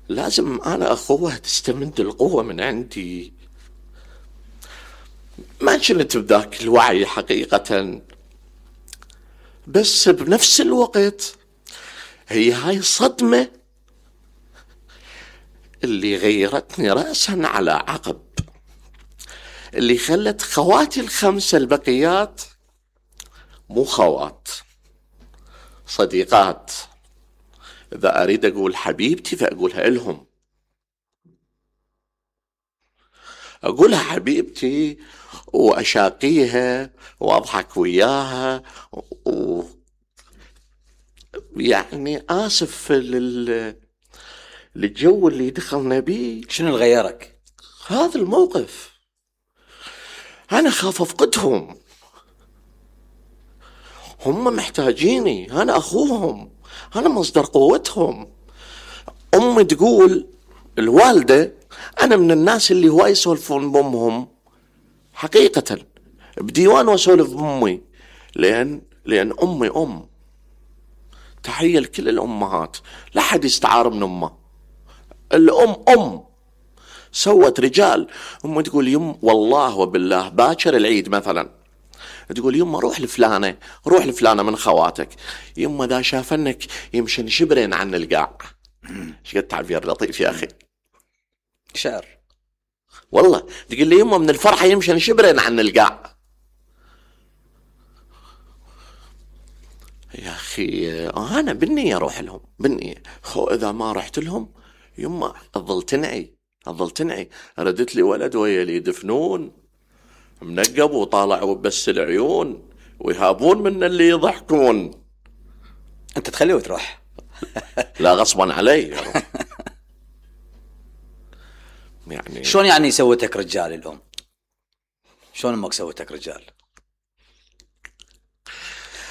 لازم أنا أخوها تستمد القوة من عندي. ما كنت بذاك الوعي حقيقة، بس بنفس الوقت هي هاي الصدمة اللي غيرتني رأسا على عقب، اللي خلت خواتي الخمسة البقيات مو خوات، صديقات. إذا أريد أقول حبيبتي فأقولها لهم، أقولها حبيبتي وأشاقيها وأضحك وياها يعني آسف للجو اللي دخلنا بيه. شنو اللي غيرك؟ هذا الموقف. أنا خاف أفقدهم، هم محتاجيني، أنا أخوهم، أنا مصدر قوتهم. أمي تقول، الوالدة، أنا من الناس اللي هواي يسولفون بأمهم حقيقة، بديوان وأسولف بأمي، لأن أمي أم. تحية لكل الأمهات، لا حد يستعار من أمه. الأم أم، سوت رجال. أمي تقول يم والله وبالله باكر العيد مثلا، تقول يما روح لفلانة من خواتك، يما ذا شافنك يمشن شبرين عن القاع. ايش قد تعبير لطيف يا أخي، شعر والله. تقول لي يما من الفرحة يمشن شبرين عن القاع. يا أخي أنا بالنية أروح لهم، بالنية. إذا ما رحت لهم يما أظل تنعي. ردت لي ولد ويلي دفنون منقب وطالع وبس العيون، ويهابون من اللي يضحكون. أنت تخليه وتروح. لا غصبا علي. يعني شلون يعني سوتك رجال الأم؟ شلون أمك سوتك رجال؟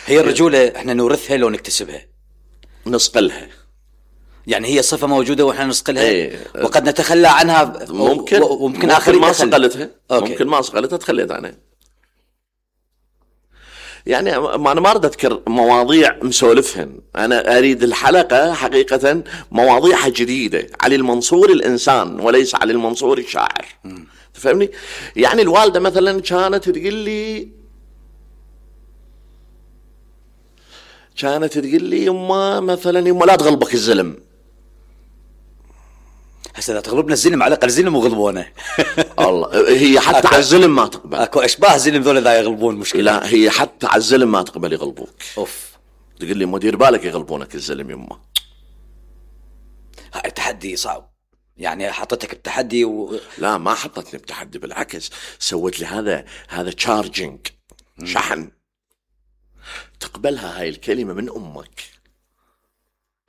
هي الرجولة احنا نورثها لو نكتسبها؟ نصقلها. يعني هي صفة موجودة واحنا نصقلها؟ ايه. وقد نتخلى عنها. ممكن آخر ما صقلتها. ممكن ما صقلتها تخليت عنها. يعني أنا ما أريد أذكر مواضيع مسولفهن، أنا أريد الحلقة حقيقة مواضيعها جديدة. علي المنصور الإنسان وليس علي المنصور الشاعر. تفهمني؟ يعني الوالدة مثلا كانت تقول لي يما مثلا يما لا تغلبك الزلم. هسه لا تغلبنا الزلم، على الأقل زلم وغلبونه. الله، هي حتى على الزلم ما تقبل. اكو اشباه زلم ذول ذا يغلبون مشكلة. لا هي حتى على الزلم ما تقبل يغلبوك. اوف. تقول لي مدير بالك يغلبونك الزلم يما. هاي تحدي صعب، يعني حطتك بتحدي لا ما حطتني بتحدي، بالعكس سوت لي هذا تشارجينج، شحن. تقبلها هاي الكلمة من أمك،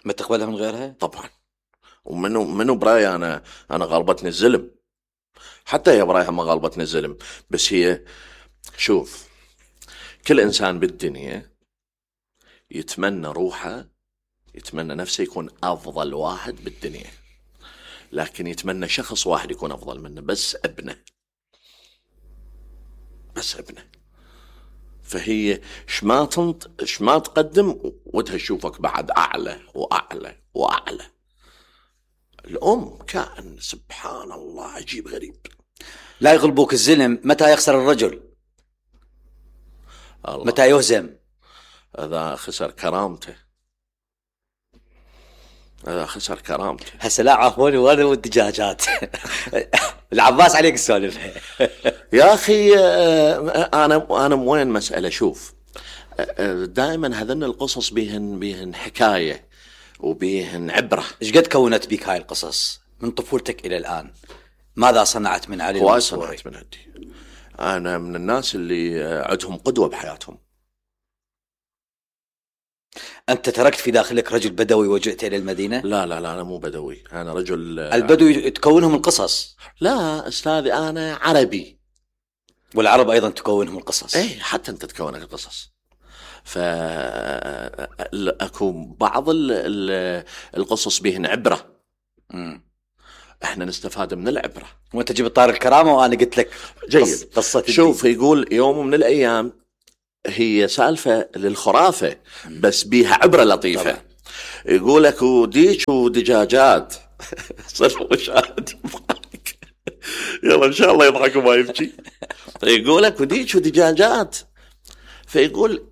ما تقبلها من غيرها طبعا. ومنو براي أنا غالبتني الزلم، حتى هي برايها ما غالبتني الزلم. بس هي شوف، كل إنسان بالدنيا يتمنى روحه، يتمنى نفسه يكون أفضل واحد بالدنيا، لكن يتمنى شخص واحد يكون أفضل منه، بس ابنه. فهي شما تقدم ودها تشوفك بعد أعلى وأعلى وأعلى. الأم كائن سبحان الله عجيب غريب. لا يغلبوك الزلم متى يخسر الرجل، الله. متى يهزم، إذا خسر كرامته. هسه لا عفوني وانا والدجاجات. العباس عليك السالفة. يا أخي أنا وين مسألة. شوف، دائما هذن القصص بيهن حكاية وبيهن عبرة. إيش قد كونت بك هاي القصص من طفولتك إلى الآن؟ ماذا صنعت من علي المنصوري؟ صنعت من عندي. أنا من الناس اللي عندهم قدوة بحياتهم. أنت تركت في داخلك رجل بدوي وجئت إلى المدينة؟ لا أنا مو بدوي، أنا رجل. البدوي تكونهم القصص. لا أستاذي أنا عربي، والعرب أيضا تكونهم القصص. إيه حتى أنت تكونك القصص. فأكو بعض القصص بهن عبرة. احنا نستفاد من العبرة. وانت جبت طار الكرامة وانا قلت لك جيد. قصة شوف يقول يوم من الأيام، هي سالفة للخرافة بس بيها عبرة لطيفة. يقول لك وديك ودجاجات. صرف مشاهد يضحك. يلا ان شاء الله يضحك وما يبكي. يقول لك وديك ودجاجات. فيقول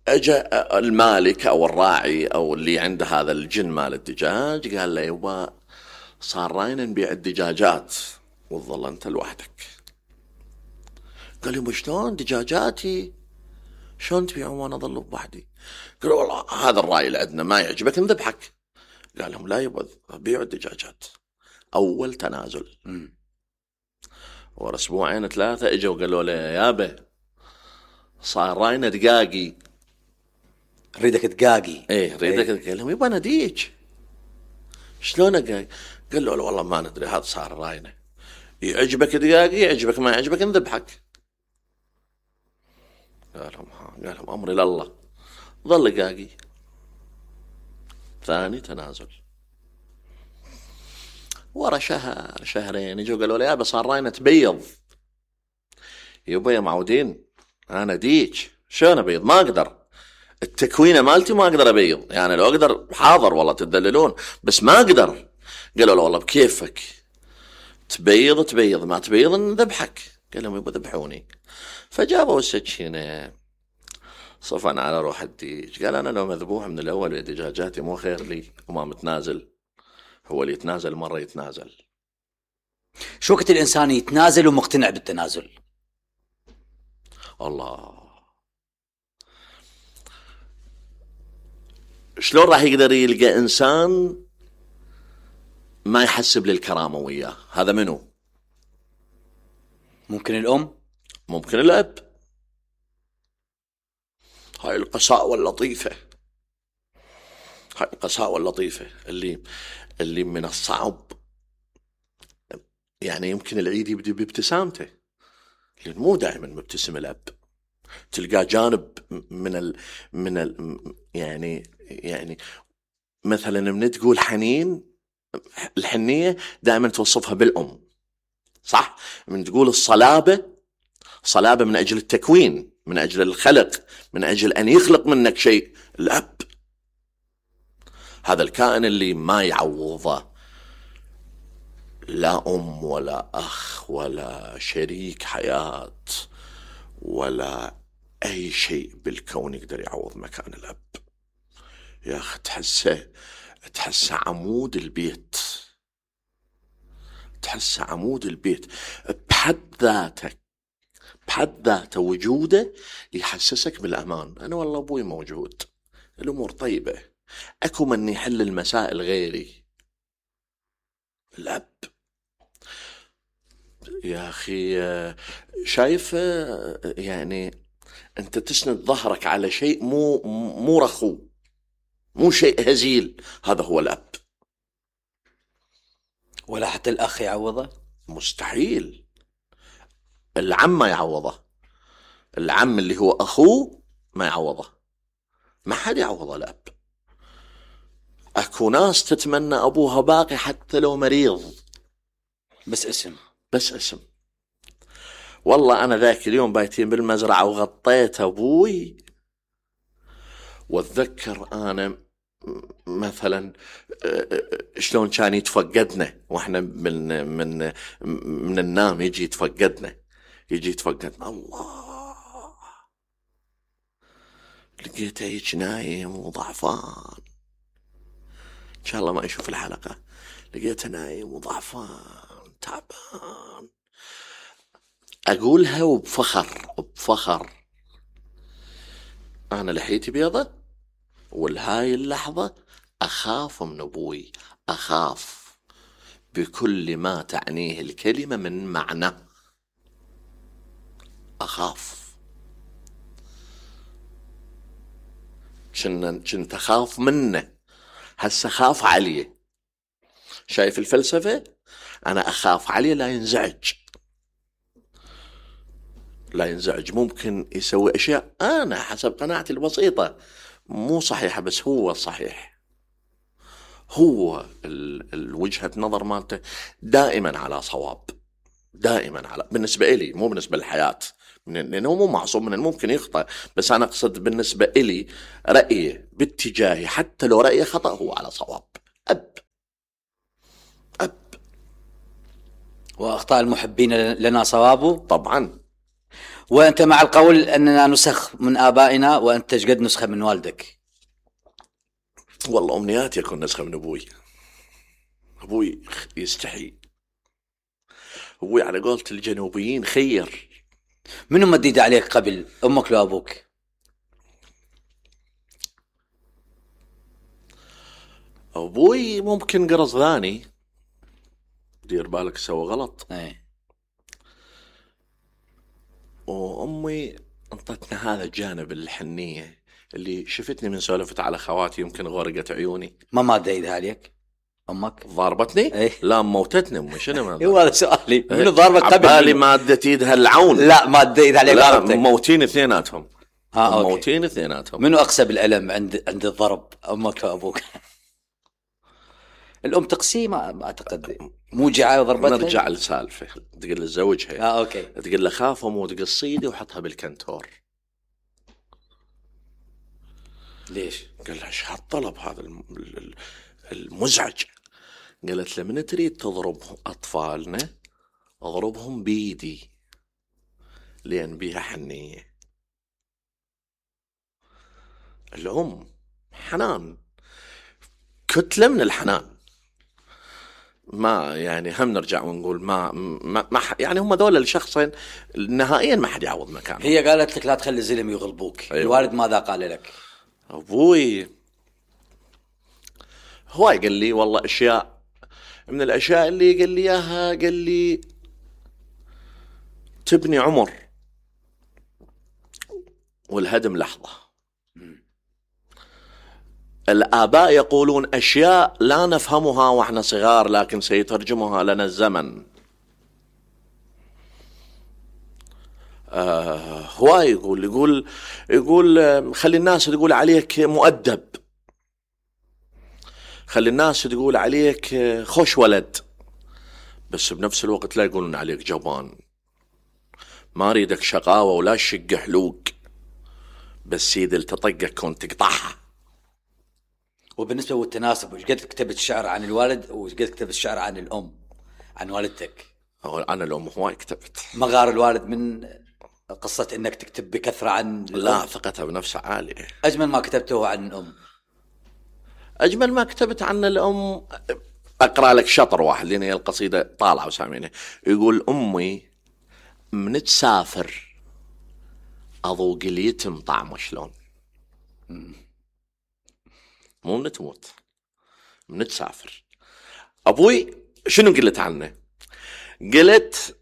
اجا المالك او الراعي او اللي عنده هذا الجن مال الدجاج، قال له يبا صار راينا نبيع الدجاجات وتظل انت لوحدك. قال يبا شلون دجاجاتي شلون تبيعون وانا اظل بوحدي؟ قال والله هذا الراي اللي عندنا ما يعجبك نذبحك. قال لهم لا يبا بيعوا الدجاجات. اول تنازل. ورا اسبوعين 3 اجوا قالوا له يابا صار راينا دقاقي. ريدك دقاقي؟ ايه ريدك. قال لهم يبا نديك. شلون دقاقي؟ قال له والله ما ندري هذا صار راينا، يعجبك دقاقي يعجبك ما يعجبك نذبحك. قال لهم امري لله. ظل دقاقي. ثاني تنازل. ورا شهر شهرين يجوا قالوا له يابا صار راينا تبيض. يبا يا معودين انا ديك شلون ابيض؟ ما اقدر، التكوينه مالتي ما اقدر ابيض، يعني لو اقدر حاضر والله تدللون بس ما اقدر. قالوا له والله بكيفك، تبيض تبيض ما تبيض نذبحك. قال لهم يبا ذبحوني. فجابوا السكينه صفن على روح الديك. قال انا لو مذبوح من الاول يا دجاجاتي مو خير لي وما متنازل؟ هو اللي يتنازل مره يتنازل. شو وقت الانسان يتنازل ومقتنع بالتنازل؟ الله شلون راح يقدر يلقى انسان ما يحسب للكرامه وياه؟ هذا منو؟ ممكن الام، ممكن الاب. هاي القساوة اللطيفة، هاي القساوة اللطيفة اللي من الصعب يعني يمكن العيد يبدي بابتسامته، لأن مو دائما مبتسم الأب. تلقى جانب من يعني مثلا من تقول حنين، الحنية دائما توصفها بالأم، صح؟ من تقول الصلابة، صلابة من أجل التكوين، من أجل الخلق، من أجل أن يخلق منك شيء، الأب. هذا الكائن اللي ما يعوضه لا أم ولا أخ ولا شريك حياة ولا أي شيء بالكون يقدر يعوض مكان الأب. يا أخي تحسه عمود البيت، تحسه عمود البيت بحد ذاته وجوده يحسسك بالأمان. أنا والله أبوي موجود، الأمور طيبة، أكو من يحل المسائل غيري. الأب يا أخي شايف يعني أنت تسند ظهرك على شيء مو رخو، مو شيء هزيل، هذا هو الأب. ولا حتى الأخ يعوضه؟ مستحيل. العم ما يعوضه، العم اللي هو أخوه ما يعوضه، ما حد يعوضه الأب. أكو ناس تتمنى أبوها باقي حتى لو مريض، بس اسم. والله أنا ذاك اليوم بايتين بالمزرعة وغطيت أبوي، وأتذكر أنا مثلا شلون كان يتفقدنا وإحنا من النام، يجي يتفقدنا الله، لقيته هيك نايم وضعفان، إن شاء الله ما يشوف الحلقة. لقيته نايم وضعفان تعبان. أقولها وبفخر أنا لحيتي بيضة، والهاي اللحظة أخاف من أبوي، أخاف بكل ما تعنيه الكلمة من معنى، أخاف. كنت أخاف منه، هسه خاف عليه. شايف الفلسفة؟ أنا أخاف عليه لا ينزعج، ممكن يسوي أشياء أنا حسب قناعتي البسيطة مو صحيحة، بس هو الصحيح، هو الوجهة نظر مالته دائما على صواب. دائما على بالنسبة إلي، مو بالنسبة للحياة، لأنه مو معصوم من الممكن يخطئ، بس أنا أقصد بالنسبة إلي رأيي باتجاهي حتى لو رأيي خطأ هو على صواب. أب وأخطاء المحبين لنا صوابه طبعا. وأنت مع القول أننا نسخ من آبائنا وأنت قد نسخة من والدك؟ والله أمنياتي أكون نسخة من أبوي. أبوي يستحي، أبوي على قولة الجنوبيين خير. منو مديد عليك قبل، أمك لو أبوك؟ أبوي ممكن قرص ثاني، دير بالك سوى غلط. وأمي انطتنا هذا الجانب الحنية اللي شفتني من سولفت على خواتي يمكن غرقت عيوني. ما مادة ايدها عليك امك؟ ضاربتني؟ لا موتتني امي. شنو ما هو هذا سؤالي. منو ضاربك قبل؟ عبالي مادة ايدها العون. لا مادة ايدها عليك. لا موتين اثنيناتهم. موتين أوكي. اثنيناتهم. منو اقسى بالالم عند الضرب، امك او ابوك؟ الام تقسي ما اعتقد موجعه وضربتها. نرجع للسالفه، تقول لزوجها اوكي، تقول له خاف امو تقصيدي وحطها بالكنتور. ليش؟ قال لها ايش هالطلب هذا المزعج؟ قالت له من تريد تضرب اطفالنا اضربهم بيدي لان بيها حنيه. الام حنان، كتله من الحنان. ما يعني هم نرجع ونقول ما يعني هم ذول الشخصين نهائيا ما حد يعوض مكانه. هي قالت لك لا تخلي الزلم يغلبوك. أيوة. الوالد ماذا قال لك؟ ابوي هو قال لي والله اشياء، من الاشياء اللي قال لي اياها قال لي تبني عمر والهدم لحظة. الآباء يقولون أشياء لا نفهمها وإحنا صغار لكن سيترجمها لنا الزمن. هو يقول خلي الناس تقول عليك مؤدب، خلي الناس تقول عليك خوش ولد، بس بنفس الوقت لا يقولون عليك جبان. ما أريدك شقاوة ولا شق حلوق، بس سيد التطقك كنت تقطعها. وبالنسبة للتناسب، وش قد كتبت الشعر عن الوالد وش قد كتبت الشعر عن الأم، عن والدتك؟ عن الأم هواي كتبت. ما غار الوالد من قصة إنك تكتب بكثرة عن الأم؟ لا، ثقتها بنفسها عالية. أجمل ما كتبته عن الأم؟ أجمل ما كتبت عن الأم أقرأ لك شطر واحد لأن هي القصيدة طالعة وسامينه. يقول أمي من تسافر أذوق اليتم طعمه شلون. مو من تموت، من تسافر. أبوي شنو قلت عنه؟ قلت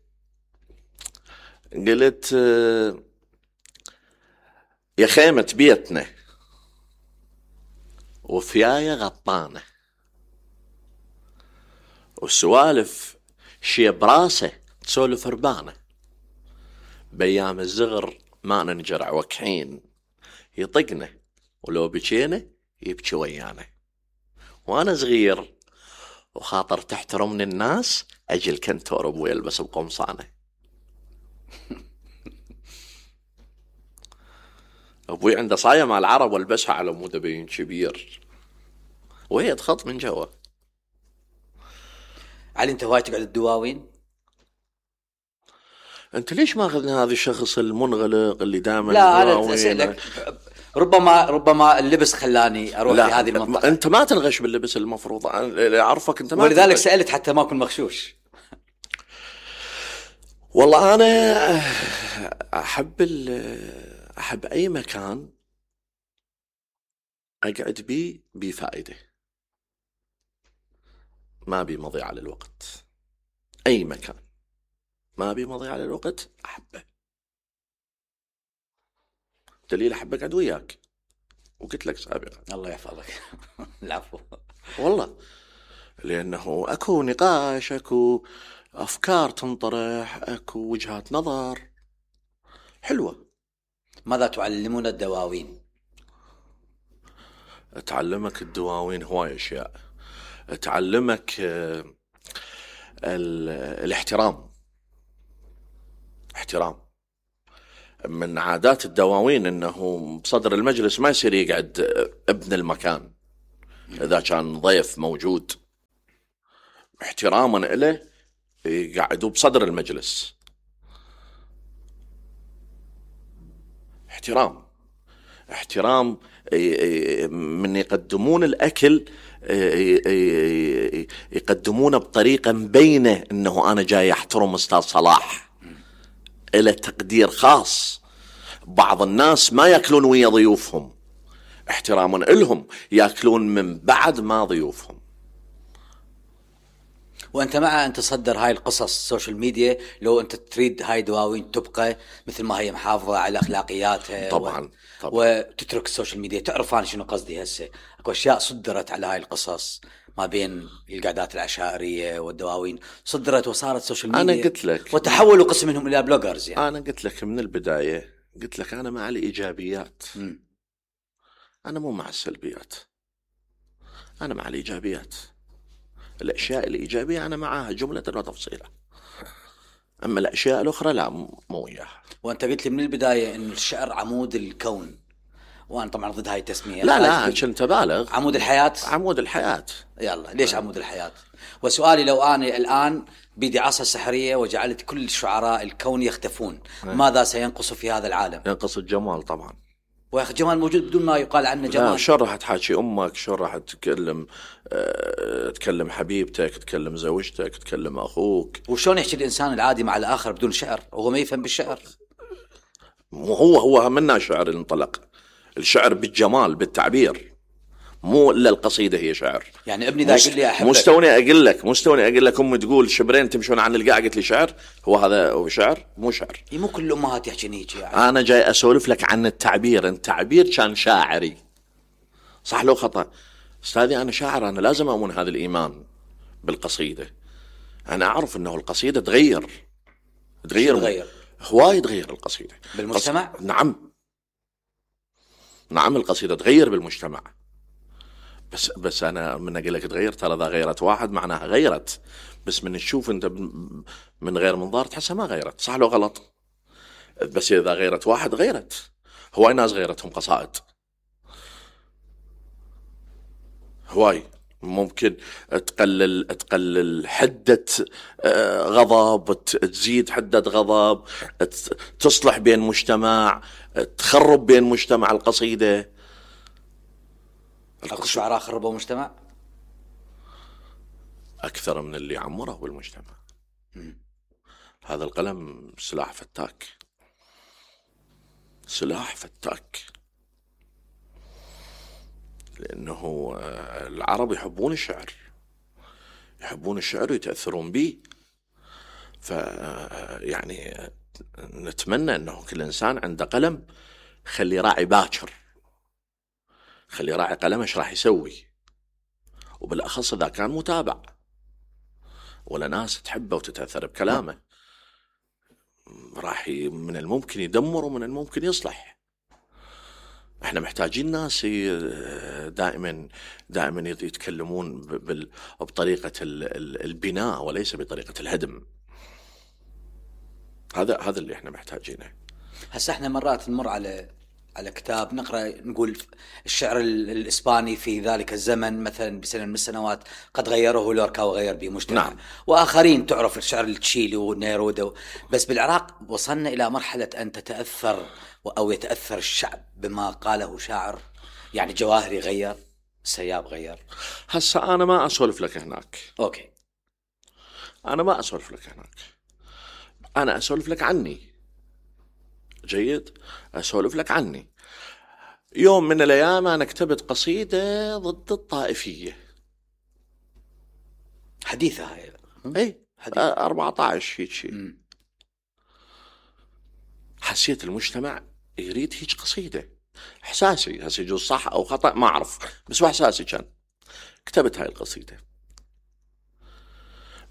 يا خيمة بيتنا وفياية غطانة والسوالف شي براسه تسولف ربانة، بيام الزغر ما ننجرع وكحين يطقنا ولو بكينا يبكي ويانا، وانا صغير وخاطر تحترمني الناس اجي الكنتور ابوي يلبس بقمصانه. ابوي عنده صايه مع العرب والبسها على مود بين كبير وهي تخط من جوا. علي انت هواي تقعد الدواوين؟ انت ليش ما اخذنا هذا الشخص المنغلق اللي دائما؟ لا انا اسالك، ربما اللبس خلاني اروح لهذه المنطقه. انت ما تنغش باللبس المفروض، اعرفك انت ما ولذلك سالت حتى ما اكون مغشوش. والله انا احب اي مكان اقعد بيه بفائده، ما بي مضيعه للوقت. اي مكان ما بي مضيعه للوقت احبه. دليل احب اقعد وياك وقلت لك سابقا. الله يحفظك. العفو. والله لانه اكو نقاش، اكو افكار تنطرح، اكو وجهات نظر حلوه. ماذا تعلمون الدواوين؟ تعلمك الدواوين هواي اشياء. تعلمك الاحترام، احترام. من عادات الدواوين انه بصدر المجلس ما يصير يقعد ابن المكان اذا كان ضيف موجود، احتراما له يقعدوا بصدر المجلس. احترام من يقدمون الاكل يقدمونه بطريقه مبينه انه انا جاي احترم استاذ صلاح، له تقدير خاص. بعض الناس ما ياكلون ويا ضيوفهم، احتراما لهم ياكلون من بعد ما ضيوفهم. وانت مع ان تصدر هاي القصص السوشيال ميديا لو انت تريد هاي دواوين تبقى مثل ما هي محافظه على اخلاقياتها؟ طبعا. وتترك السوشيال ميديا. تعرف انا شنو قصدي هسه؟ اكو اشياء صدرت على هاي القصص ما بين القعدات العشائريه والدواوين، صدرت وصارت سوشيال ميديا. انا قلت لك وتحولوا قسم منهم الى بلوجرز يعني. انا قلت لك من البدايه، قلت لك انا مع الايجابيات. انا مو مع السلبيات، انا مع الايجابيات. الاشياء الايجابيه انا معها جمله وتفصيلا، اما الاشياء الاخرى لا، مو وياها. وانت قلت لي من البدايه ان الشعر عمود الكون، وانا طبعا ضد هاي التسميه. لا كنت بالغ. عمود الحياه. عمود الحياه. يلا ليش عمود الحياه؟ وسؤالي لو انا الان بيدي عصا سحريه وجعلت كل شعراء الكون يختفون، ماذا سينقص في هذا العالم؟ ينقص الجمال طبعا. ويا اخي الجمال موجود بدون ما يقال عنه جمال. شو راح تحكي امك، شو راح تكلم حبيبتك، تكلم زوجتك، تكلم اخوك. وشلون يحكي الانسان العادي مع الاخر بدون شعر وهو ما يفهم بالشعر؟ هو منا شعر انطلق. الشعر بالجمال بالتعبير، مو الا القصيده هي شعر. يعني ابني ذا يقول لي احبك، مستوني اقول لك امي تقول شبرين تمشون عن القاع، قلت لي شعر. هذا هو شعر؟ مو شعر. مو كل الامهات يحكين هيك يعني. انا جاي اسولف لك عن التعبير. التعبير كان شاعري، صح لو خطا؟ استاذي انا شاعر، انا لازم اؤمن هذا الايمان بالقصيده. انا اعرف انه القصيده تغير هواي، تغير القصيده بالمجتمع. نعم القصيده تغير بالمجتمع. بس انا من اقول لك تغير، ترى اذا غيرت واحد معناها غيرت، بس من تشوف انت من غير منظار تحسها ما غيرت، صح لو غلط؟ بس اذا غيرت واحد غيرت. هواي ناس غيرتهم قصائد، هواي. ممكن تقلل حدة غضب، تزيد حدة غضب، تصلح بين مجتمع، تخرب بين مجتمع. القصيدة اكو شعراء خربوا مجتمع أكثر من اللي عمره بالمجتمع. هذا القلم سلاح فتاك، سلاح فتاك. لأنه العرب يحبون الشعر، يحبون الشعر ويتأثرون به. يعني نتمنى أنه كل إنسان عنده قلم خلي راعي باكر، خلي راعي قلمه ايش راح يسوي، وبالأخص إذا كان متابع ولا ناس تحبه وتتأثر بكلامه، راح من الممكن يدمر ومن الممكن يصلح. احنا محتاجين ناس دائما يتكلمون بطريقة البناء وليس بطريقة الهدم. هذا اللي احنا محتاجينه. هسه احنا مرات نمر على كتاب نقرأ نقول الشعر الإسباني في ذلك الزمن مثلا بسنة من السنوات قد غيره لوركا وغير به مجتمع. نعم. وآخرين تعرف الشعر التشيلي ونيرودا. بس بالعراق وصلنا إلى مرحلة أن تتأثر أو يتأثر الشعب بما قاله شاعر. يعني جواهري غير، سياب غير. هسه أنا ما أسولف لك هناك. أوكي. أنا ما أسولف لك هناك، أنا أسولف لك عني. جيد، أسولف لك عني. يوم من الأيام أنا كتبت قصيدة ضد الطائفية حديثة هاي. اي 14 هيك شيء. حسيت المجتمع يريد هيك قصيدة. إحساسي هسه يجوز صح أو خطأ ما أعرف، بس إحساسي كان. كتبت هاي القصيدة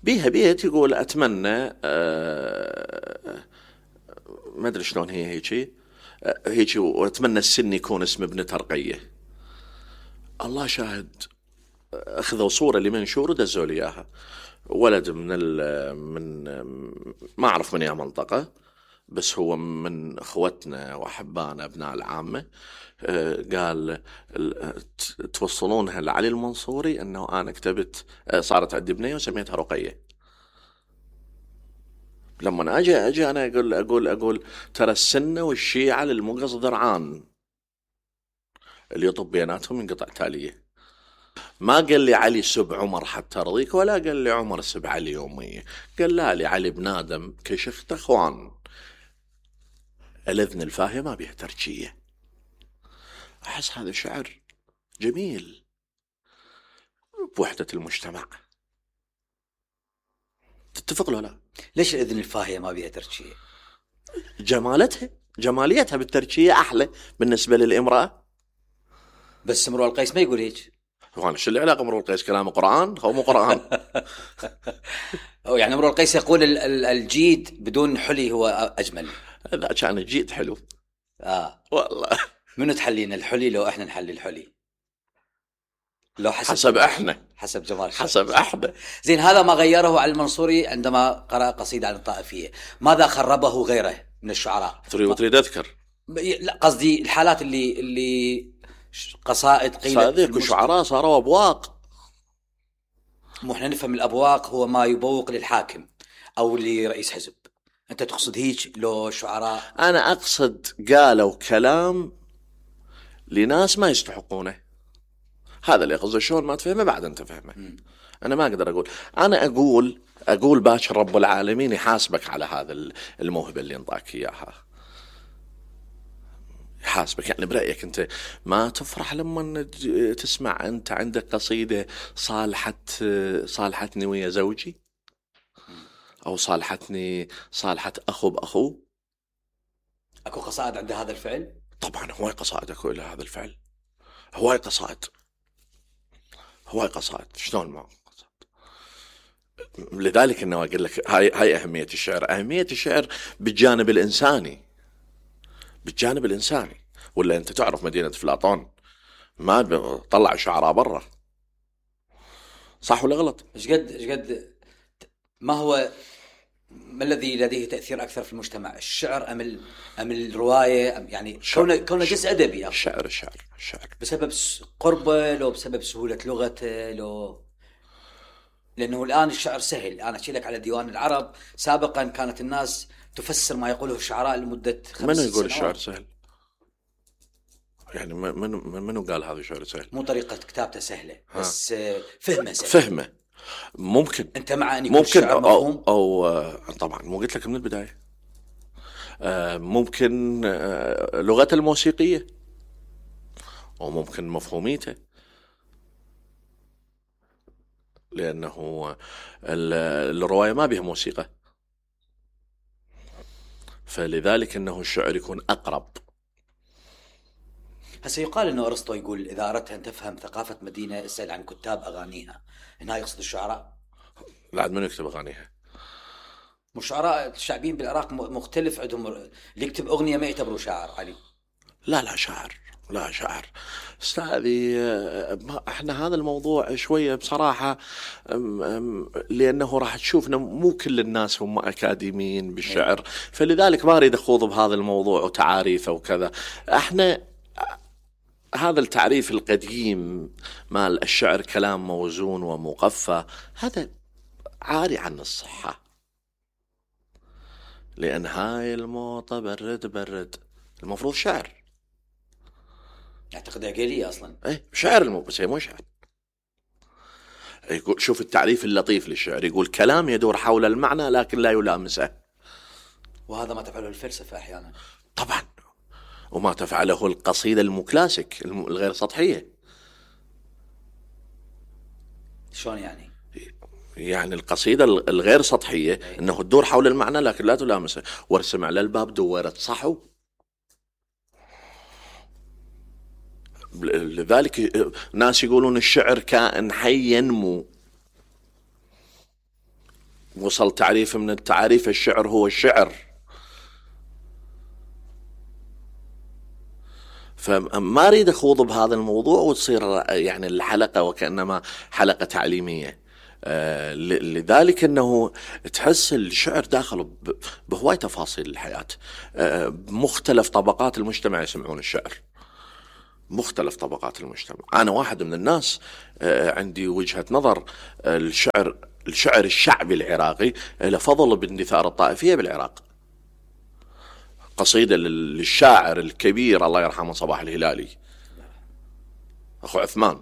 بيها بيت يقول أتمنى ما أدري شلون هي هيك وأتمنى السن يكون اسم ابن ترقية. الله شاهد، أخذوا صورة لمنشور ودزوا لي إياها. ولد من ما أعرف من أي منطقة، بس هو من اخوتنا واحبائنا ابناء العامه. قال توصلونها لعلي المنصوري انه انا كتبت، صارت عندي بنيه وسميتها رقيه. لما اجي انا اقول ترى السنه والشيعه للمقص ذرعان، اللي يطب بيناتهم ينقطع تاليه. ما قال لي علي سب عمر حتى رضيك، ولا قال لي عمر سب علي يومية. قال لا لي علي بنادم كشخت اخوان. الاذن الفاهيه ما بيها تركيه. احس هذا شعر جميل بوحده المجتمع. تتفق له لا؟ ليش الاذن الفاهيه ما بيها تركيه؟ جماليتها بالتركيه احلى بالنسبه للامراه. بس امرؤ القيس ما يقول هيك. وانا شو اللي علاقه امرؤ القيس؟ كلامه قران هو مو قران. أو يعني امرؤ القيس يقول الجيد بدون حلي هو اجمل. اذا كان الجيد حلو والله. منو تحلينا الحلي لو احنا نحلي الحلي؟ لو حسب احنا، حسب جمال حسب احنا. زين، هذا ما غيره علي المنصوري عندما قرأ قصيدة عن الطائفية. ماذا خربه غيره من الشعراء؟ تريد اذكر؟ لا، قصدي الحالات اللي قصائد قيلت صادق شعراء صاروا ابواق. مو احنا نفهم الابواق هو ما يبوق للحاكم او لرئيس حزب. انت تقصد هيك لو شعراء؟ انا اقصد قالوا كلام لناس ما يستحقونه. هذا اللي قصده. شلون ما تفهمه بعد انت فهمه. انا ما اقدر اقول. انا اقول باكر رب العالمين يحاسبك على هذا الموهبه اللي انطاك اياها. يحاسبك. يعني برأيك انت ما تفرح لما تسمع انت عندك قصيده صالحتني ويا زوجي، او صالحت اخو باخوه؟ اكو قصائد عند هذا الفعل؟ طبعا هواي قصائد اكو الى هذا الفعل. هواي قصائد. شلون ما قصائد؟ لذلك انه اقول لك هاي اهميه الشعر. اهميه الشعر بالجانب الانساني. ولا انت تعرف مدينه افلاطون ما طلع شعراء برا؟ صح ولا غلط؟ ايش قد ما الذي لديه تأثير أكثر في المجتمع، الشعر أم الرواية؟ يعني كونه جزء أدبي. الشعر بسبب قربه، لو بسبب سهولة لغته، لأنه الآن الشعر سهل. أنا أحكي لك على ديوان العرب. سابقا كانت الناس تفسر ما يقوله الشعراء لمدة 5 سنوات. من يقول الشعر سهل؟ يعني منو قال هذا الشعر سهل؟ مو طريقة كتابته سهلة، بس فهمه سهل. فهمه ممكن. انت مع ان يكون الشعر مفهوم؟ أو طبعا مو قلت لك من البدايه. ممكن لغته الموسيقيه، وممكن مفهوميته، لانه الروايه ما بها موسيقى، فلذلك انه الشعر يكون اقرب. هسه يقال انه ارسطو يقول اذا اردت ان تفهم ثقافه مدينه اسال عن كتاب اغانيها. هنا يقصد الشعراء؟ لا، من يكتب اغانيها؟ مو الشعراء الشعبيين بالعراق مختلف عندهم. اللي يكتب اغنيه ما يعتبره شاعر علي. لا شاعر استاذي. احنا هذا الموضوع شويه بصراحه، لانه راح تشوف مو كل الناس هم اكاديميين بالشعر، فلذلك ما اريد اخوض بهذا الموضوع وتعاريفه وكذا. احنا هذا التعريف القديم مال الشعر كلام موزون ومقفى، هذا عاري عن الصحة. لأن هاي الموطة برد المفروض شعر. أعتقد عقيلية أصلا. شعر بس هي مو شعر. يقول شوف التعريف اللطيف للشعر، يقول كلام يدور حول المعنى لكن لا يلامسه. وهذا ما تفعله الفلسفة أحيانا. طبعا، وما تفعله القصيدة المكلاسيك الغير سطحية. شلون يعني؟ يعني القصيدة الغير سطحية انه تدور حول المعنى لكن لا تلامسه. وارسم على الباب دورت صحو. لذلك ناس يقولون الشعر كائن حي ينمو. وصل تعريف من التعريف الشعر هو الشعر. فما أريد أخوض بهذا الموضوع وتصير يعني الحلقة وكأنما حلقة تعليمية. لذلك أنه تحس الشعر داخل بهواي تفاصيل الحياة. مختلف طبقات المجتمع يسمعون الشعر، مختلف طبقات المجتمع. أنا واحد من الناس عندي وجهة نظر، الشعر الشعبي العراقي له فضل باندثار الطائفية بالعراق. قصيدة للشاعر الكبير الله يرحمه صباح الهلالي أخو عثمان،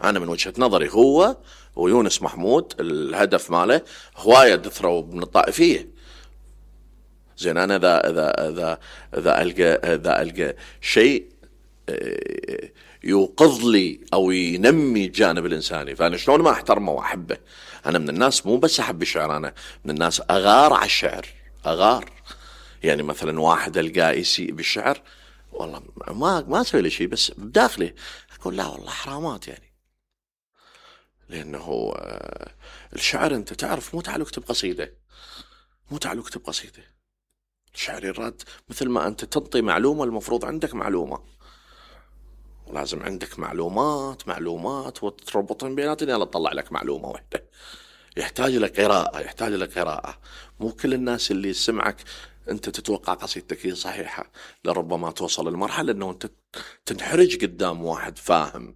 أنا من وجهة نظري هو ويونس محمود الهدف ماله هواية دثروا من الطائفية. زين أنا إذا ألقى شيء يوقظ لي أو ينمي الجانب الإنساني، فأنا شلون ما أحترمه وأحبه. أنا من الناس مو بس أحب الشعر، أنا من الناس أغار على الشعر، أغار. يعني مثلا واحد ألقاه يسيء بالشعر، والله ما أسوي له شيء، بس بداخلي أقول لا والله حرامات يعني. لأنه الشعر أنت تعرف مو تعال اكتب قصيدة، مو تعال اكتب قصيدة. الشعر يراد مثل ما أنت تنطي معلومة، المفروض عندك معلومة، لازم عندك معلومات وتربطن بيناتن يلا تطلع لك معلومة واحدة. يحتاج لك قراءة. مو كل الناس اللي يسمعك أنت تتوقع قصيدتك هي صحيحة، لربما توصل المرحلة أنه أنت تنحرج قدام واحد فاهم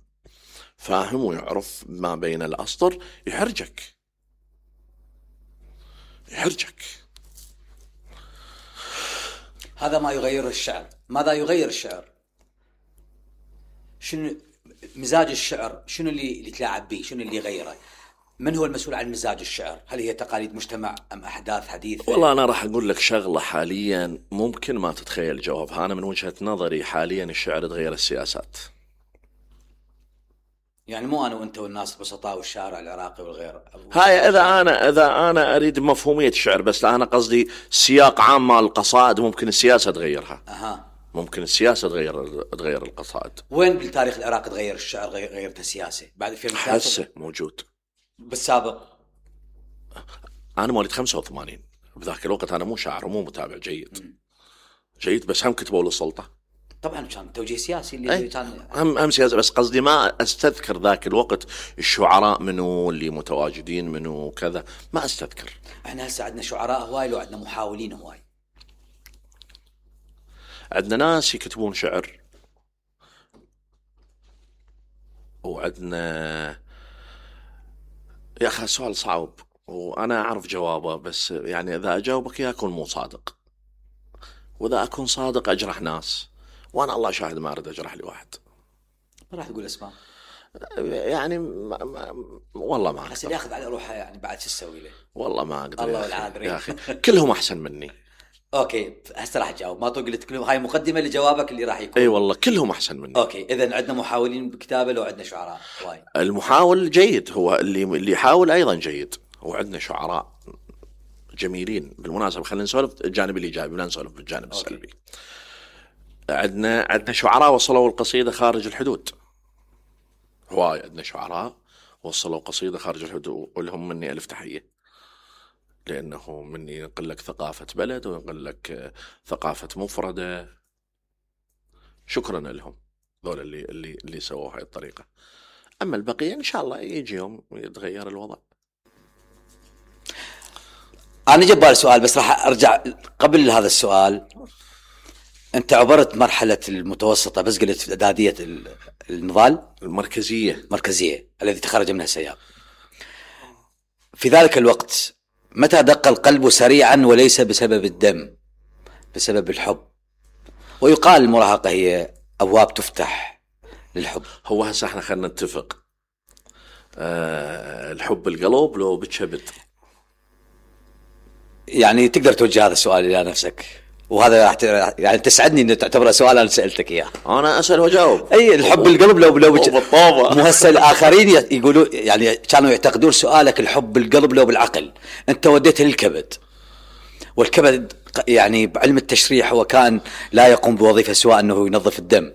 ويعرف ما بين الأسطر، يحرجك. هذا ما يغير الشعر. ماذا يغير الشعر؟ شنو مزاج الشعر؟ شنو اللي تلاعب به؟ شنو اللي يغيره؟ من هو المسؤول عن مزاج الشعر؟ هل هي تقاليد مجتمع أم أحداث حديثة؟ والله أنا راح أقول لك شغلة حاليا ممكن ما تتخيل جوابها. أنا من وجهة نظري حاليا الشعر تغير السياسات. يعني مو أنا وأنت والناس البسطاء والشارع العراقي والغير. هاي إذا أنا أريد مفهومية الشعر، بس أنا قصدي سياق عام مال القصائد ممكن السياسة تغيرها. ممكن السياسة تغير القصائد. وين بالتاريخ العراقي تغير الشعر غيرت السياسة؟ بعد في حسه موجود بالسابق. أنا مواليد 85، بذاك الوقت أنا مو شاعر ومو متابع جيد بس هم كتبوا للسلطة. طبعا كان توجيه سياسي اللي كان هم سياسي، بس قصدي ما أستذكر ذاك الوقت الشعراء منو اللي متواجدين منو كذا، ما أستذكر. احنا هسه عندنا شعراء هواي لو عندنا محاولين هواي. عندنا ناس يكتبون شعر، وعندنا يا أخي سؤال صعب وأنا أعرف جوابه، بس يعني إذا أجاوبك إياه أكون مو صادق، وإذا أكون صادق أجرح ناس، وأنا الله شاهد ما أريد أجرح لي واحد. ما راح تقول اسماء يعني والله ما أقدر. ياخذ على روحه يعني بعد شو تسوي له؟ والله ما أقدر. الله العاذر يا أخي كلهم أحسن مني. اوكي هسه راح اجاوب، ما تقول لك هاي مقدمه لجوابك اللي راح يكون. اي والله كلهم احسن مني. اوكي اذا عندنا محاولين بكتابه لو عندنا شعراء واي. المحاول جيد، هو اللي يحاول ايضا جيد، وعندنا شعراء جميلين. بالمناسبه خلينا نسولف الجانب الايجابي ولا نسولف بالجانب السلبي. عندنا شعراء وصلوا القصيده خارج الحدود، هواي عندنا شعراء وصلوا قصيده خارج الحدود، ولهم مني الف تحيه، لأنه مني ينقل لك ثقافة بلد وينقل لك ثقافة مفردة. شكرا لهم ذول اللي سووا هاي الطريقة. أما البقية إن شاء الله يجي يوم يتغير الوضع. أنا جبال سؤال بس راح أرجع قبل هذا السؤال. أنت عبرت مرحلة المتوسطة بس قلت إعدادية النضال المركزية الذي تخرج منها سياب. في ذلك الوقت متى دق القلب سريعا وليس بسبب الدم، بسبب الحب؟ ويقال المراهقة هي أبواب تفتح للحب. هو هسه احنا خلنا نتفق، الحب القلب لو بتشبت. يعني تقدر توجه هذا السؤال إلى نفسك، وهذا يعني تسعدني أن تعتبره سؤال أنا سألتك إياه. أنا أسأل وجاوب. أي الحب القلب لو مو هسه الآخرين يقولوا يعني كانوا يعتقدون سؤالك الحب القلب لو بالعقل، أنت وديته للكبد، والكبد يعني بعلم التشريح هو كان لا يقوم بوظيفة سواء أنه ينظف الدم.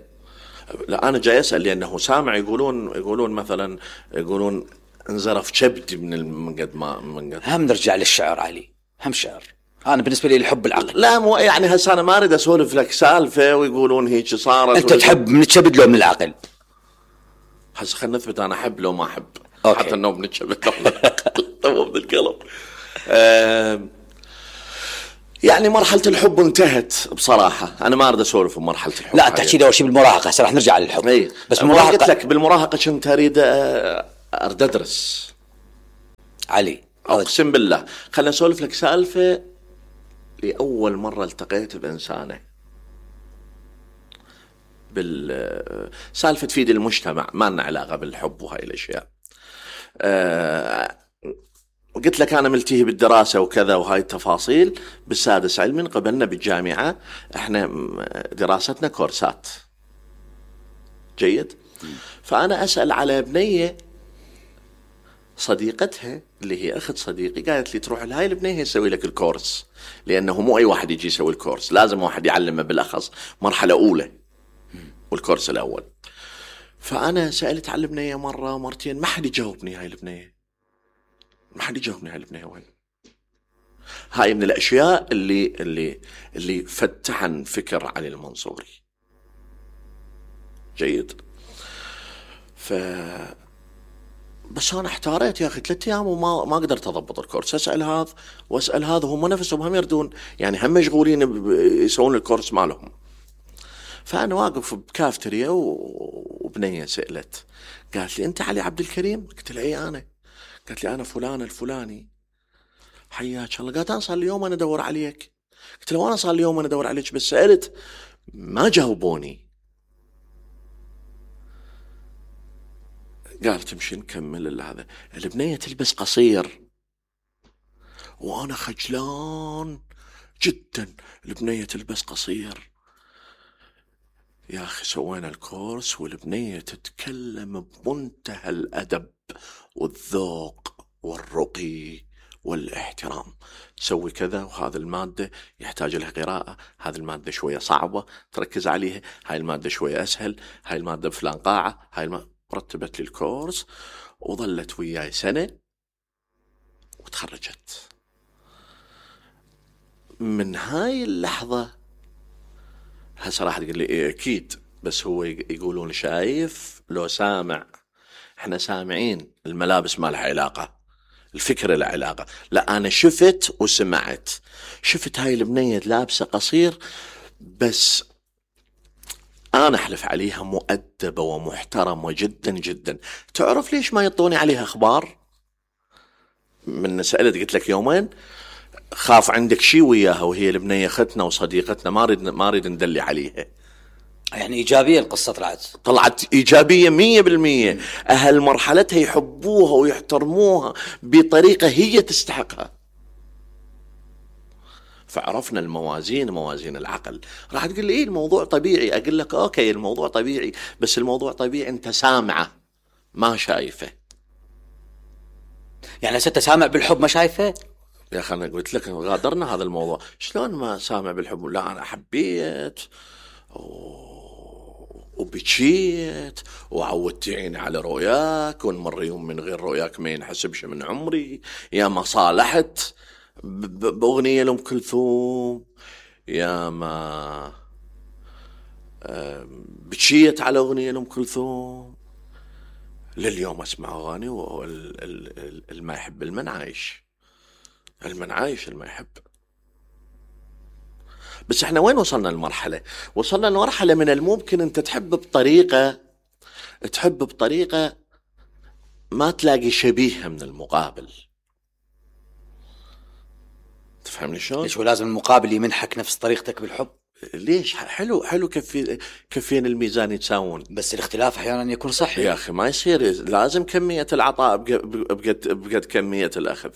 لا أنا جاي أسأل لأنه سامع يقولون مثلا يقولون انزرف كبدي من قد ما هم نرجع للشعر علي، هم شعر. أنا بالنسبة لي الحب العقل. لا مو يعني هسه أنا ما أريد أسولف لك سالفة ويقولون هيك صارت. أنت تحب من الكبد لو من العقل؟ هسه خلنا نثبت أنا أحب لو ما أحب. حتى النوم نتشبت طب القلب. يعني مرحلة الحب انتهت بصراحة. أنا ما أريد أسولف بمرحلة الحب. لا تحكي لي أول شيء بالمراهقة، هسه راح نرجع للحب. بس بالمراهقة قلت لك بالمراهقة كنت أريد أدرس علي. أقسم بالله. خلنا نسولف لك سالفة. لأول مرة التقيت بإنسانة بالسالفة تفيد المجتمع، ما لنا علاقة بالحب وهاي الأشياء. قلت لك أنا ملتهي بالدراسة وكذا وهاي التفاصيل. بالسادس علمي قبلنا بالجامعة، احنا دراستنا كورسات. جيد. فأنا أسأل على بنية صديقتها اللي هي أخت صديقي، قالت لي تروح لهاي البنية يسوي لك الكورس، لأنه مو أي واحد يجي يسوي الكورس، لازم واحد يعلمه بالأخص مرحلة أولى والكورس الأول. فأنا سألت على البنية مرة مرتين، ما حد يجاوبني. هاي البنية ما حد يجاوبني. هاي البنية وين؟ هاي من الأشياء اللي فتحن فكر علي المنصوري. جيد. بس أنا احتاريت يا أخي 3 أيام وما قدرت أضبط الكورس. أسأل هذا وأسأل هذا، هم نفسهم هم يردون، يعني هم مشغولين يسوون الكورس مالهم. فأنا واقف بكافتريا وبنية سألت، قالت لي أنت علي عبد الكريم؟ قلت لها إيه أنا. قالت لي أنا فلان الفلاني. حياك الله. قالت أنا صار لي يوم أنا أدور عليك. قلت له أنا صار لي يوم أنا أدور عليك، بس سألت ما جاوبوني. قالت تمشي نكمل هذا. البنية تلبس قصير وأنا خجلان جدا. البنية تلبس قصير. يا أخي سوينا الكورس والبنية تتكلم بمنتهى الأدب والذوق والرقي والاحترام. تسوي كذا، وهذا المادة يحتاج لها قراءة، هذه المادة شوية صعبة تركز عليها، هاي المادة شوية أسهل، هاي المادة بفلان قاعة، رتبت لي الكورس وظلت وياي سنة وتخرجت. من هاي اللحظة هسه راح تقول لي إيه أكيد، بس هو يقولون شايف لو سامع. احنا سامعين، الملابس ما لها علاقة، الفكرة لها علاقة. لا أنا شفت وسمعت. شفت هاي البنية لابسة قصير، بس أنا أحلف عليها مؤدبة ومحترمة جدا جدا. تعرف ليش ما يطوني عليها أخبار؟ من سألت قلت لك يومين خاف عندك شي وياها، وهي البنية أختنا وصديقتنا، ما أريد ندلي عليها. يعني إيجابية القصة طلعت إيجابية 100%. أهل مرحلتها يحبوها ويحترموها بطريقة هي تستحقها. فعرفنا الموازين، موازين العقل. راح تقول لي إيه الموضوع طبيعي. أقول لك أوكي الموضوع طبيعي، بس الموضوع طبيعي أنت سامعه ما شايفه. يعني ست سامع بالحب ما شايفه؟ يا أخي أنا قلت لك غادرنا هذا الموضوع. شلون ما سامع بالحب؟ لا أنا حبيت وبكيت وعودتيني على رؤياك، ونمر يوم من غير رؤياك ما ينحسبش من عمري. يا ما صالحت بأغنية لأم كلثوم، يا ما بكيت على أغنية لأم كلثوم. لليوم أسمع أغاني والما يحب المن عايش، المن عايش الما يحب. بس احنا وين وصلنا المرحلة؟ وصلنا لمرحلة من الممكن انت تحب بطريقة ما تلاقي شبيهها من المقابل. تفهمني شلون؟ ليش ولازم المقابل يمنحك نفس طريقتك بالحب؟ ليش؟ حلو كفين الميزان يتساوون، بس الاختلاف احيانا يكون صحي يا اخي. ما يصير، لازم كمية العطاء بقد كمية الاخذ.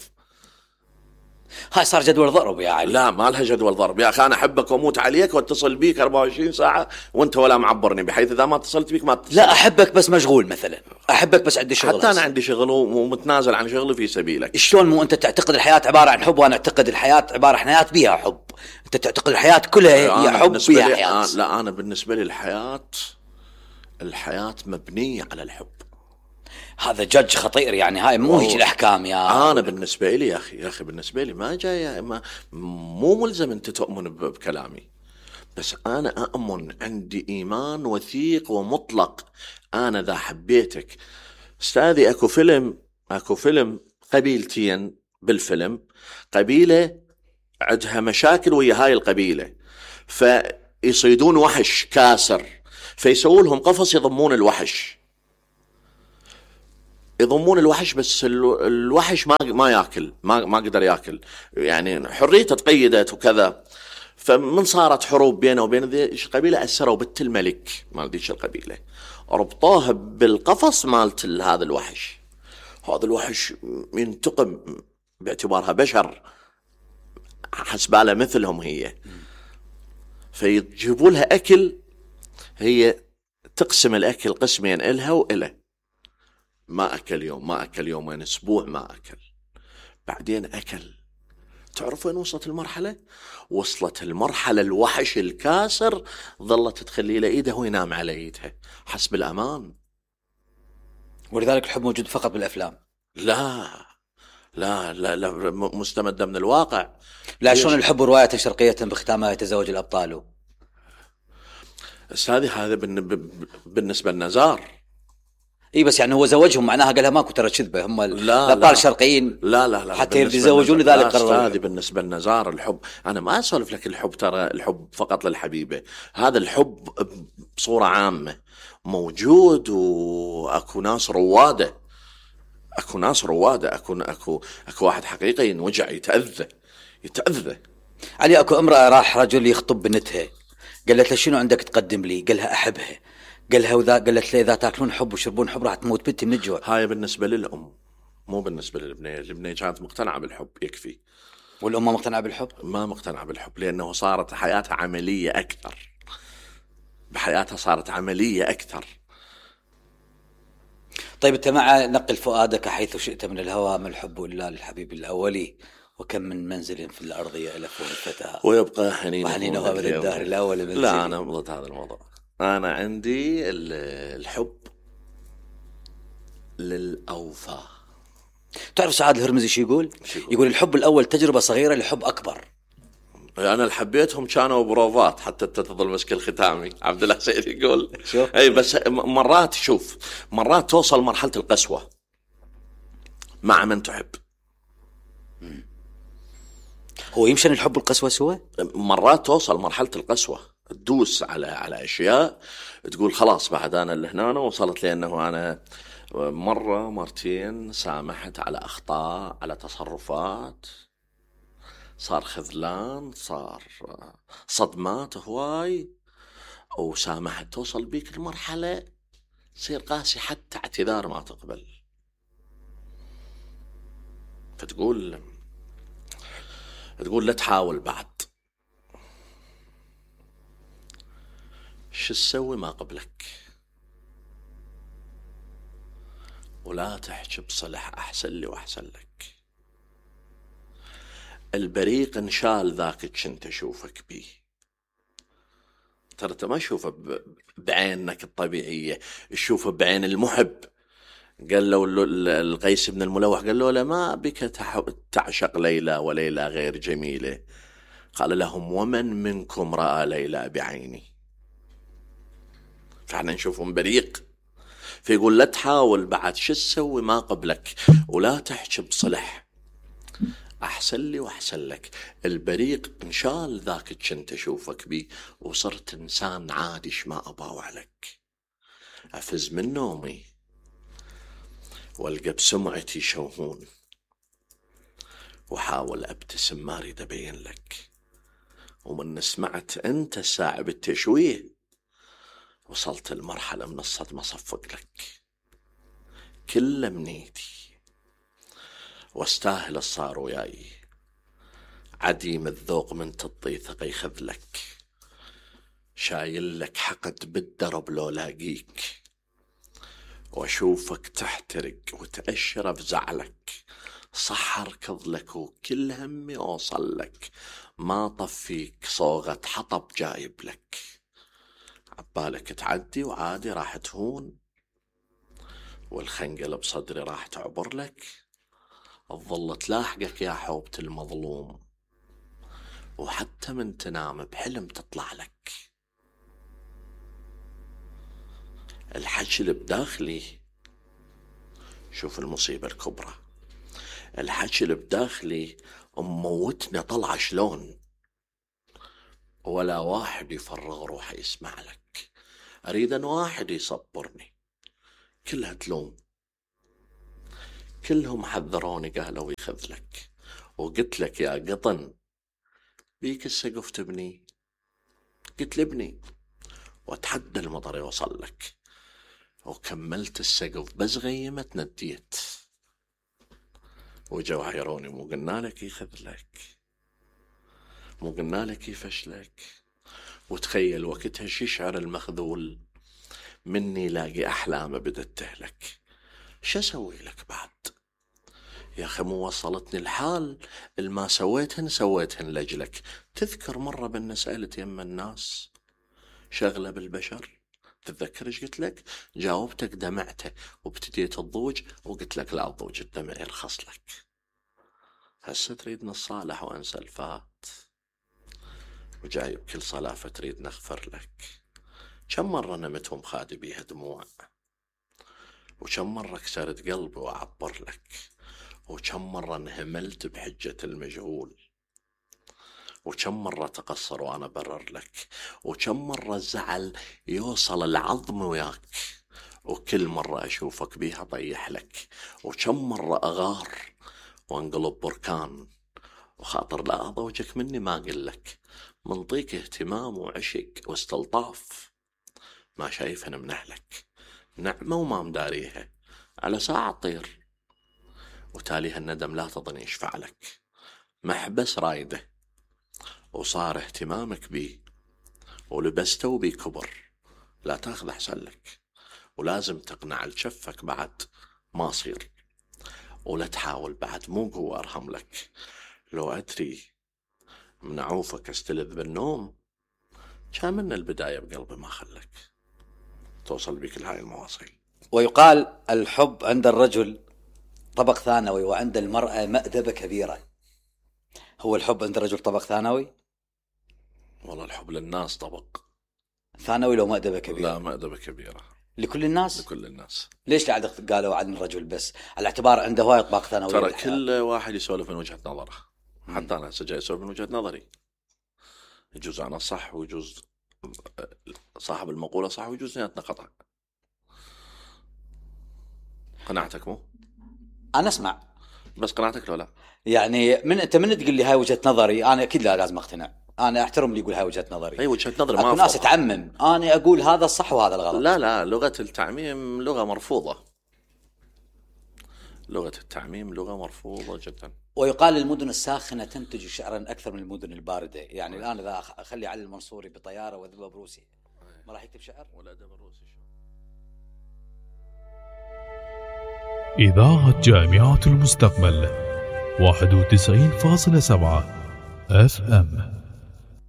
هاي صار جدول ضرب يا علي. لا ما لها جدول ضرب يا اخي. انا احبك واموت عليك واتصل بيك 24 ساعة وانت ولا معبرني، بحيث اذا ما اتصلت بيك ما اتصل. لا احبك بس مشغول مثلا، احبك بس عندي شغل. حتى انا عندي شغل ومتنازل عن شغلي في سبيلك. شلون مو انت تعتقد الحياة عبارة عن حب، وانا اعتقد الحياة عبارة عن حياة بيها حب. انت تعتقد الحياة كلها هي حب بيها حياة. لا انا بالنسبة لي الحياة مبنية على الحب. هذا جج خطير يعني. هاي مو هيك الاحكام يا انا بالنسبه لي يا اخي بالنسبه لي ما جاي مو ملزم انت تؤمن بكلامي، بس انا اؤمن، عندي ايمان وثيق ومطلق. انا اذا حبيتك استاذي اكو فيلم قبيلتين بالفيلم، قبيلة عندها مشاكل ويا هاي القبيلة، فيصيدون وحش كاسر، فيسوون لهم قفص يضمون الوحش، بس الوحش ما ياكل، ما قدر ياكل، يعني حريته تقيدت وكذا. فمن صارت حروب بينه وبين ذي القبيلة، أسروا بنت الملك مال ذيك القبيلة، ربطوها بالقفص مالت هذا الوحش. هذا الوحش ينتقم باعتبارها بشر، حسباله مثلهم هي، فيجيبوا لها أكل، هي تقسم الأكل قسمين إلها وإله. ما أكل يوم، ما أكل يومين، أسبوع ما أكل، بعدين أكل. تعرف وين وصلت المرحلة؟ وصلت المرحلة الوحش الكاسر ظلت تخلي له إيده وينام على إيدها، حسب الأمان. ولذلك الحب موجود فقط بالأفلام؟ لا لا لا, لا مستمدة من الواقع. لا، شلون الحب رواية شرقية بختامها يتزوج الأبطال؟ هذا بالنسبة للنزار. اي بس يعني هو زوجهم، معناها قالها ماكو ترى كذبه، هم الابطال الشرقيين لا حتى يتزوجون، لذلك قرروا. هذه بالنسبه للنزار الحب. انا ما اسولف لك الحب، ترى الحب فقط للحبيبه، هذا الحب بصوره عامه موجود، واكو ناس رواده، اكو واحد حقيقي ينوجع، يتاذى. علي اكو امراه راح رجل يخطب بنتها، قالت له شنو عندك تقدم لي؟ قالها احبها. قالها قالت له اذا تاكلون حب وشربون حب راح تموت بنتي من الجوع. هاي بالنسبه للام، مو بالنسبه للبنيه. البنيه كانت مقتنعه بالحب يكفي، والام مقتنعه بالحب؟ ما مقتنعه بالحب، لانه صارت حياتها عمليه اكثر، بحياتها صارت عمليه اكثر. طيب انت مع نقل فؤادك حيث شئت من الهوى، ما الحب الا للحبيب الاولي، وكم من منزل في الارض يألف الفتى ويبقى حنينه ابد الدهر الاول منزلي. لا انا ضد هذا الموضوع. أنا عندي الحب للأوفى. تعرف سعاد الهرمزي شو يقول؟ يقول الحب الأول تجربة صغيرة لحب أكبر. أنا اللي حبيتهم كانوا بروفات حتى تظل مسك الختامي. عبد الله سعيد يقول أي، بس مرات توصل مرحلة القسوة مع من تحب. هو يمشن الحب والقسوة سوا؟ مرات توصل مرحلة القسوة، تدوس على أشياء تقول خلاص بعد أنا اللي هنا وصلت، لأنه أنا مرة مرتين سامحت على أخطاء، على تصرفات، صار خذلان، صار صدمات هواي، أو سامحت. توصل بيك المرحلة تصير قاسي، حتى اعتذار ما تقبل، فتقول لا تحاول بعد، شو تسوي ما قبلك، ولا تحكي بصلح أحسن لي وأحسن لك. البريق انشال ذاك كنت أشوفك بيه، ترى انت ما تشوفه بعينك الطبيعية، تشوفه بعين المحب. قال له القيس بن الملوح، قال له ما بك تعشق ليلى وليلى غير جميلة؟ قال لهم ومن منكم رأى ليلى بعيني؟ فاحنا نشوفهم بريق، فيقول لا تحاول بعد، شو تسوي ما قبلك، ولا تحكي بصلح أحسن لي وأحسن لك. البريق انشال ذاك كنت أشوفك بيه، وصرت إنسان عادي ما أباوع لك. أفز من نومي والقى بسمعتي شوهون، وحاول أبتسم ما أريد أبين لك، ومن سمعت أنت الساعة بالتشويه وصلت المرحلة من الصدمة صفق لك. كل منيتي واستاهل الصار وياي، عديم الذوق من تطي ثقي خذلك، شايل لك حقد بالدرب لو لاقيك، واشوفك تحترق وتأشر بزعلك، صح اركض لك وكل همي اوصل لك، ما طفيك صوغة حطب جايب لك، عبالك تعدي وعادي راح تهون، والخنقل بصدري راح تعبر لك، تظل تلاحقك يا حوبة المظلوم، وحتى من تنام بحلم تطلع لك. الحجل بداخلي شوف المصيبة الكبرى، الحكي اللي بداخلي موتنا طلع شلون، ولا واحد يفرغ روحه يسمع لك، أريد أن واحد يصبرني. كلها تلوم، كلهم حذروني قالوا يخذلك، وقلت لك يا قطن بيك السقف تبني، قلت لابني واتحدى المطر يوصل لك، وكملت السقف بس غيمت نديت، وجو عيروني مو قلنا لك يخذلك، مو قلنا لك يفشلك. وتخيل وقتها ششعر المخذول مني لاقي أحلامه بدت تهلك. شو أسوي لك بعد يا أخي؟ مو وصلتني الحال الما سويتهن لجلك. تذكر مرة بأن سألت يم الناس شغلة بالبشر، تتذكر ايش قلت لك؟ جاوبتك دمعته وابتديت الضوج، وقلت لك لا الضوج الدمع يرخص لك. هسه تريد نصالح وانسى الفات، وجايب كل صلافة تريد نغفر لك. كم مرة نمتهم خادي بيها دموع، وكم مرة كسرت قلبي وأعبر لك، وكم مرة انهملت بحجة المجهول، وكم مرة تقصر وأنا برر لك، وكم مرة الزعل يوصل العظم وياك، وكل مرة أشوفك بيها طيح لك، وكم مرة أغار وانقلب بركان، وخاطر لا أضوجك مني ما أقول لك، منطيك اهتمام وعشق واستلطاف، ما شايفهن من أهلك، نعمة وما مداريها، على ساعة تطير، وتاليها الندم لا تظن يشفع لك، محبس رايده وصار اهتمامك بيه، ولبسته بيه كبر، لا تاخذ أحسن لك، ولازم تقنع الشفك بعد ما صير، ولا تحاول بعد مو قوة أرحم لك. لو أدري من عوفك استلذ بالنوم، كان من البداية بقلبي ما خلك توصل بك لهاي المواصيل. ويقال الحب عند الرجل طبق ثانوي وعند المرأة مأدبة كبيرة. هو الحب عند الرجل طبق ثانوي؟ والله الحب للناس طبق ثانوي لو مأدبة كبيرة؟ لا مأدبة كبيرة لكل الناس؟ لكل الناس. ليش قاعد قالوا عن الرجل بس؟ على اعتبار عنده هواي اطباق ثانوية. ترى كل واحد يسولف من وجهة نظره، حتى أنا جاي أسولف من وجهة نظري، يجوز أنا صح ويجوز صاحب المقولة صح ويجوز اثنيناتنا خطأ. قناعتك مو؟ أنا أسمع بس قناعتك لو لا؟ يعني أنت من تقول لي هاي وجهة نظري، أنا أكيد لا لازم أقتنع. أنا أحترم اللي يقول هاي وجهة نظري. أي وجهة نظر ما أكو ناس تعمم، أنا أقول هذا الصح وهذا الغلط. لا لغة التعميم لغة مرفوضة، لغة التعميم لغة مرفوضة جدا. ويقال المدن الساخنة تنتج شعرا أكثر من المدن الباردة. يعني الآن إذا أخلي علي المنصوري بطيارة وذبة بروسي ما راح يكتب شعر ولا أدب الروسي. إذاعة جامعة المستقبل 91.7 FM.